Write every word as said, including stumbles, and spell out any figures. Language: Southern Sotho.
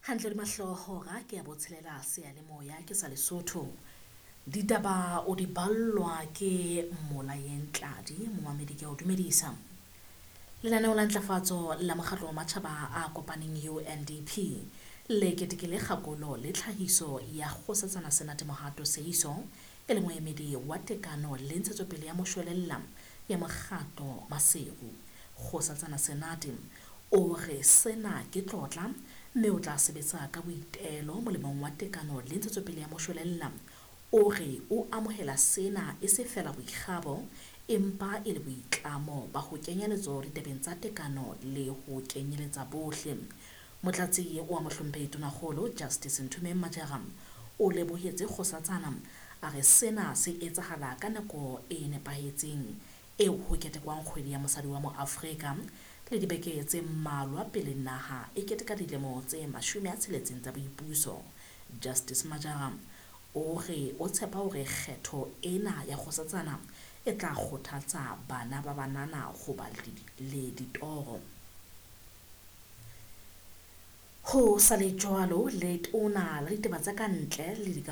Hantle le mahlohora ke ya botshelela seyalemoya ke sa Lesotho. Ditaba o di ballwa ke Molayeng Tladi, momamedi ke a o dumedisa. Lenaneo la ntlafatso la mokgatlo wa matjhaba a kopaneng U N D P le ketekile kgakolo le tlhahiso ya Kgosatsana Senate Mohato Seiso e le moemedi wa tekano le ntshetsopele ya moshwelella ya mokgatlo Maseru. Kgosatsana Senate o re sena ke tlotla mme o tla sebetsa ka boitelo molemong wa tekano le ntshetsopele ya moshwelella. O re o amohela sena e se feela boikgabo empa e le boitlamo ba ho kenya letsoho ditabeng tsa tekano le ho kenyeletsa bohle. Motlatsi wa mohlomphehi Tonakgolo Justice Nthumeng Majara o lebohetse Kgosatsana a re sena se etsahala ka nako e nepahetseng eo ho ketekwang kgwedi ya mosadi wa moAfrika le dibeke tse mmalwa pele naha e keteka dilemo tse mashome a tsheletseng tsa boipuso. Justice Majara o re o tshepa hore kgetho ena ya Kgosatsana e tla kgothatsa bana ba banana ho ba le ditoro. Ho sa le jwalo, letona la ditaba tsa kantle le